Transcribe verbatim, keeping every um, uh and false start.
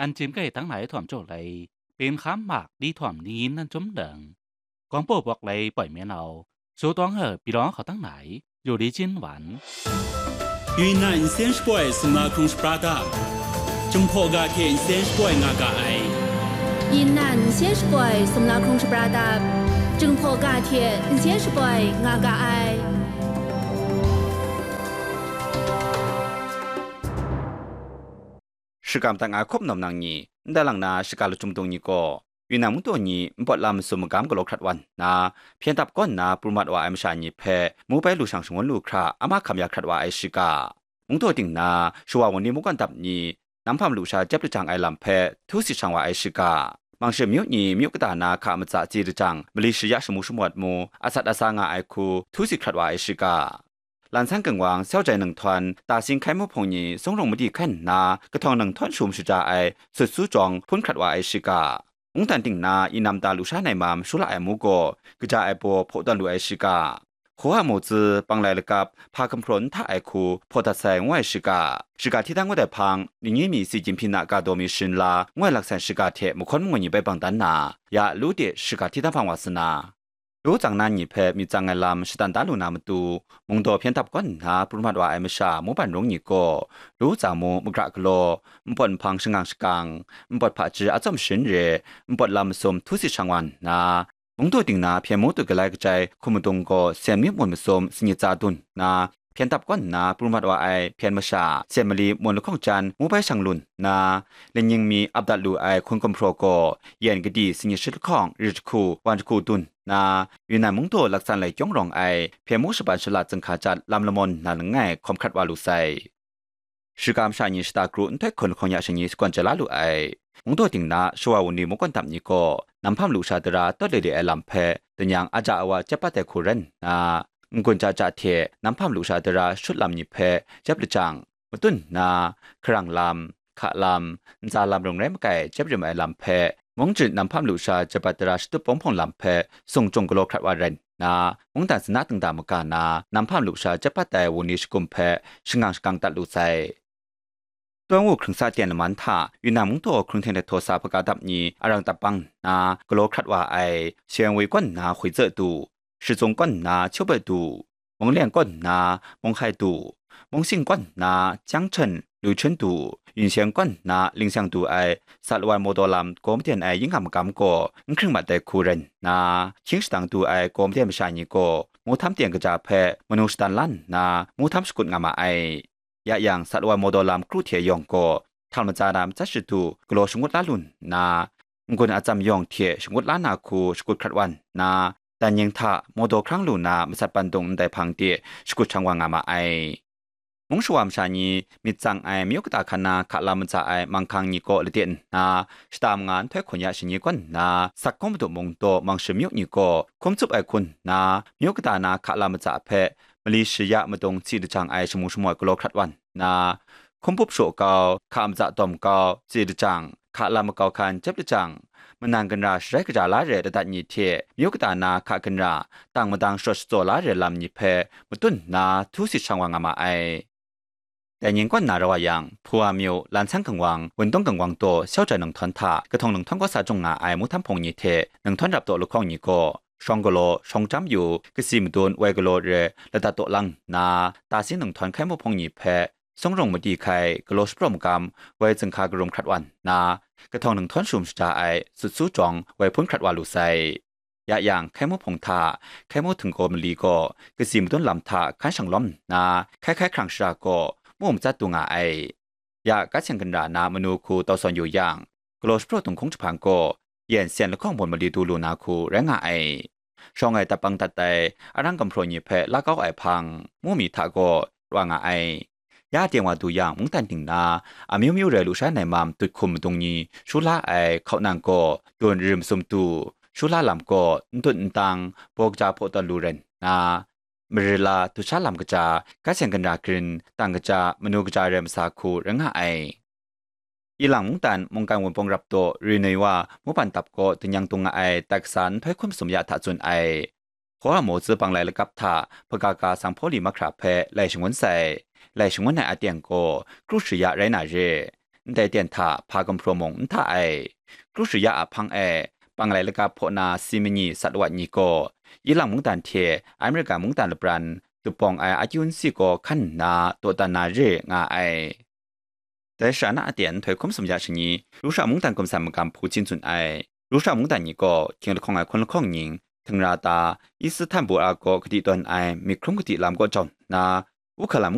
อันจิมไก่ตั้งหลายถ่อมโจทย์เลย เป็นข้ามหมากดีถ่อมนี้นั่นจมเดิง กองโปะบอกเลยปล่อยเมียนเอา โซต้องเหอะปีร้องเขาตั้งไหน อยู่ดีจินหวาน Yunnan nsen shapoi sumla hkrung shapra dap, Jinghpaw ga hte nsen shapoi nga ga ai. Yunnan nsen shapoi sumla hkrung shapra dap, Jinghpaw ga hte nsen shapoi nga ga ai. Shakam dat nga hkawp nawm nang ni, ndai lang na shaka lachyum dung ni gaw, Yunnan mungdaw ni npawt lam masum magam galaw hkrat wa nna, hpyen dap kaw nna pru mat wa ai masha ni hpe, mu bai lu shang shangun lu hkra, a mahkam ya hkrat wa ai shiga. Mungdaw ting na, shawa wunli mungkan dap ni, nam hpam lusha jep lajang ai lam hpe, htu sit shang wa ai shiga. Mangshi myu ni myu kata na hka matsa tsi lajang, mali shaya shamu shamawt mu, asat asa nga ai hku, htu sit hkrat wa ai shiga. Lan san gangwang, sau jai nang htawn, ta sing hkai mu hpung ni, sung rung madi hkan nna, kahtawng nang htawn shum shaja ai, sut su jawng, hpun hkrat wa ai shiga. Mungdan ting na, inam ta lusha nai mam, shu la ai mu gaw, kaja ai baw, hpaw tawn lu ai shiga. Hkawa mu tsi, panglai lakap, hpa gumhpraw n hta ai hku, hpaw dat sai, ngu ai shiga. Shiga hti dan ngut ai hpang, ningyi mi si Jinping na ga daw mi shin la, ngu ai laksan shiga hte mahkawn mangwi ni bai bang dan na, ya lu de shiga hti dan hpang wa sa na. Lu tsang nan ni hpe myit tsang ai lam shatan da lu na matu, mungdaw hpyen dap kaw nna pru mat wa ai masha Muban Rung ni gaw, lu tsang mu magra galaw, npawt nhpang shangang shakang, npawt hpaji a tsawm shin re, npawt lam masum htu sit shang wa nna, mungdaw ting na hpyen mu tut galai kajai hkum madung gaw sen myit mun masum sanyit tsa dun nna, hpyen dap kaw nna pru mat wa ai hpyen masha, sen mali mun lahkawng jan mu bai shang lun nna, lanying mi ap dat lu ai hkun gumhpraw gaw, yen kadi sanyit shit lahkawng ri jahku wan jahku dun nna, Yunnan mungdaw laksan lai kyawng rawng ai hpyen mu shaban shala zing hka jat lam lamawn nna langai hkawm hkrat wa lu sai. Shiga masha ni shata kru nhtoi hkun lahkawng ya shani shakawn chye la lu ai. Mungdaw ting na shawa wunli mungkan dap ni gaw, nam hpam lusha dara tawt le le ai lam hpe, danyang aja awa jep bat ai hku rai nna, n-gun ja ja hte nam hpam lusha dara shut lam ni hpe jep lajang, matun nna, hkarang lam, hka lam, ntsa lam rung rai makai jep rim ai lam hpe, mungchyit nam hpam lusha jep bat dara shatup bawng hpawng lam hpe, sung jung galaw hkrat wa rai nna, mungdan sana dingda maga na, nam hpam lusha jep bat ai wunli shagum hpe, shangang shakang dat lu sai. Tawng wu hkrung sa tyen laman hta, Yunnan mungdaw hkrung hten hte htaw sa hpaga dap ni arang dap bang nna, galaw hkrat wa ai, Sheng Wei kaw nna Hwi Tse Du, Shizung kaw nna Chiu Bai Du, Mung Leng kaw nna Mung Hai Du, Mung Sing kaw nna Jiang Chen, Lu Chun Du, Yun Seng kaw nna Ling Seng Du ai, sat wa ai mawdaw lam gaw maden ai yingham magam gaw n hkring mat ai hku rai nna, hkying shadang du ai gaw maden masha ni gaw, mu htam teng kaja hpe manu shadan la nna, mu htam shakut nga ma ai. Ya yang, sat wa ai mawdaw lam kru hte yawng gaw, htal matsa na matsat shadu galaw shangut la lu nna, n-gun atsam yawng hte shangut la na hku shakut hkrat wa nna, dan ying hta mawdaw hkrang lu na masat pandung ndai hpang de shakut shang wa nga ma ai. Mung shawa masha ni myit tsang ai myu kata hkan na hka lam matsa ai manghkang ni kaw lade nna, shata manga nhtoi hkun ya shani kaw nna, sak kawng madu mung daw mangshi myu ni kaw hkum tsup ai hku nna, myu kata na hka lam matsa hpe mali shaya madung tsi lajang ai shamu shamawt galaw hkrat wa nna, hkum pup shaw kau, hka matsa dawm kau, tsi lajang, hka lam makau hkan jep lajang, manan ginra sharai kaja la re ladat ni hte myu kata na hka ginra, tang madang sharawt shatsaw la re lam ni hpe matun nna htu sit shang wa nga ma ai. Dai ning kaw nna rau a yang, Hpuwa myu, Lan San Gangwang, Wundung Gangwang daw, Shau Jai Nang Htawn hta, Kahtawng Nang Htawn kaw sa jung nga ai mu htam hpung ni hte, Nang Htawn rap daw lahkawng ni gaw, Shawng Galaw, Shawng Chyam Yu, Kasi Madun, Wai Galaw re, ladat daw lang nna, Tasing Nang Htawn hkai mu hpung ni hpe, Sung Rung Madi hkai, Galaw Shapraw Magam, Wai Zing Hka Karum hkrat wa nna, Kahtawng Nang Htawn shum shaja ai, Sut Su Jawng, Wai Hpun hkrat wa lu sai. Ya yang, hkai mu hpung hta, hkai mu htinggaw mali gaw, Kasi Madun lam hta hkan shang lawm nna, hkai hkai hkrang shara gaw, mu matsat du nga ai. Ya, Gat Seng Ginra na manu hku tau sawn yu yang, Galaw Shapraw Dunghkung Jahpan gaw, yen sen lahkawng bun mali du lu na hku rai nga ai. Shawng ai dap bang dat ai, arang gumhpraw ni hpe la kau ai hpang, mu mi hta gaw, wa nga ai. Ya teng wa du yang, mungdan ting na, amyu myu rai lusha nai mam tut hkum madung ni, shu la ai hkau nang gaw, dun rim sum du, shu la lam gaw, n tut n tang, baw kaja hpaw tawn lu rai nna, marila, dusha lam kaja, Gat Seng Ginra grin, tang kaja, manu kaja rai masa hku rai nga ai. Ilang mungdan mungkan wunpawng rap daw, Rinui wa, Muban Dap gaw danyang dung nga ai, dat kasa nhtoi hkum sum ya hta tsun ai. Hkawa maw tsi bang lai lakap hta, hpaga ga sang hpaw li mahkra hpe lai shangun sai. Lai shangun ai aten gaw, kru shaya rai na re. ndai ten hta hpa gumhpraw mung n hta ai. Kru shaya a hpang e, panglai lagap hpaw na si manyi sat wat ni gaw, Ilang mungdan hte Amerika mungdan lapran dupawng ai akyu nsi gaw hkan nna dawdan na re nga ai. Dai sha na aten nhtoi hkum sumya shani, Rusha mungdan gumsan magam Putin tsun ai. Rusha mungdan ni gaw hkying lahkawng ai hkun lahkawng ning, htingra ta, Istanbul a gaw kadi tawn ai myit hkrum kadi lam kaw jaw nna, Ukraine